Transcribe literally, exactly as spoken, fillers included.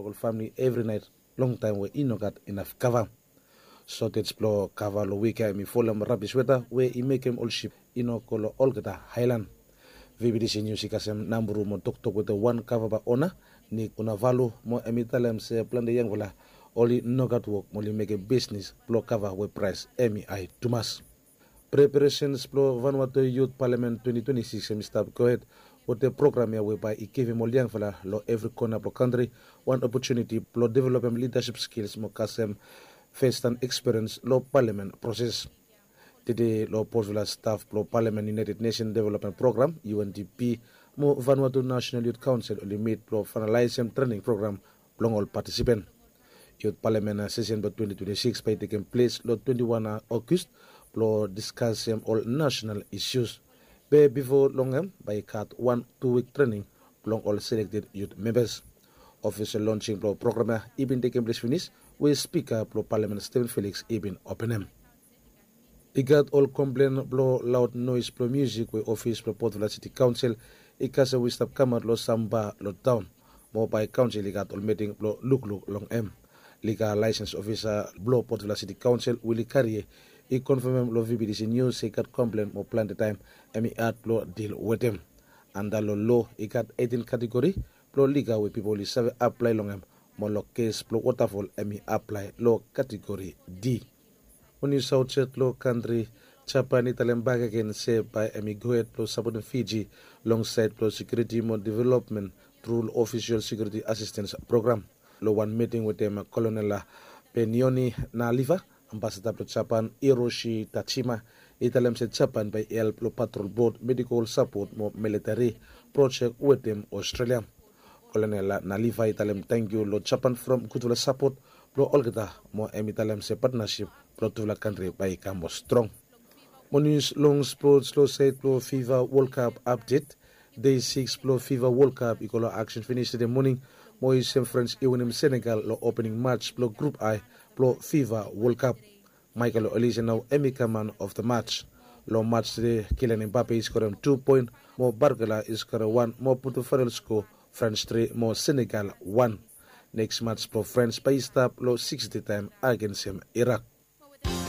ol famili evri nait, longtaim we i no gat inaf kava. Sotej blong kava long wik ya em i folem rabis weta we i mekem ol sip i no go long olgeta haelan. Vibidisi nius i kasem nambru mo toktok wetem wan kava baona, Nik Unavalu, mo em i talem se plante yangfala oli no gat wok mo oli mekem bisnis blong kava we praes em i ae tumas. Preparasens blong Vanuatu Yut Palamen twenti twenti sikis em i stap gohed wetem program ya we bae i givim ol yangfala long evri kona blong kantri wan opotuniti blong developem lidasip skils mo kasem festan ekspiriens long palamen proses. Tede long Port Vila staf blong Palamen United Nation Development Program, U N D P, mo Vanuatu National Youth Council oli mit blong fainalaesem trening program blong ol patisipen. Yut Palamen sesen blong twenti twenti sikis bae i tekem ples long twenti wan Ogust blong diskasem ol nasenal isius. Be bifo long em bae i gat wan tu wik trening blong ol selekted yut membas. Ofisol lonsing blong program ya i bin tekem ples finis, we spika blong Palamen Steven Felix i bin openem. I gat ol komplen blong laod noes blong musik we ofis blong Port Vila Siti Kaonsel i kasem we i stap kamaot long sam ba long taon. Mo bae kaonsel i gat ol miting blong lukluk long em. Liga laesens ofisa blong Port Vila Siti Kaonsel, Willy Karie, i konfamem long V B T C News se i gat komplen mo plante taem em i had blong dil wetem. Anda long lo i gat eitin kategori blong liga we pipol i save aplae long em, mo long kes blong wotafol em i aplae long kategori D. Mo nius aotsaed long kantri, Japan i talem bakegen se bae em i gohed blong sapotem Fiji long saed blong sekiuriti mo developmen tru long ofisol sekiuriti asistens program. Long wan miting wetem Kolonel Benioni Naliva, ambasada blong Japan Hiroshi Tajima i talem se Japan bae i help long patrol bot, medikol sapot mo militeri projek wetem Australia. Kolonel Naliva i talem tangkiu long Japan from gudfala sapot blong olgeta, mo em i talem se patnasip blong tufala kantri bae i kam moa strong. Mo nius long spots long saed blong Fifa World Cup apdet. Dei sikis blong Fifa World Cup i go long aksen finis tede moning, mo i sem Frans i winim Senegal long opening mats blong grup I blong Fifa World Cup. Michael Olise nao em i kam man of the mats. Long mats tede, Kylian Mbappe i skorem tu poen, mo Barcola i skorem wan mo putum faenal sko, Frans tri mo Senegal wan. Neks mats blong Frans bae i stap long sikis dei taem agensem Irak.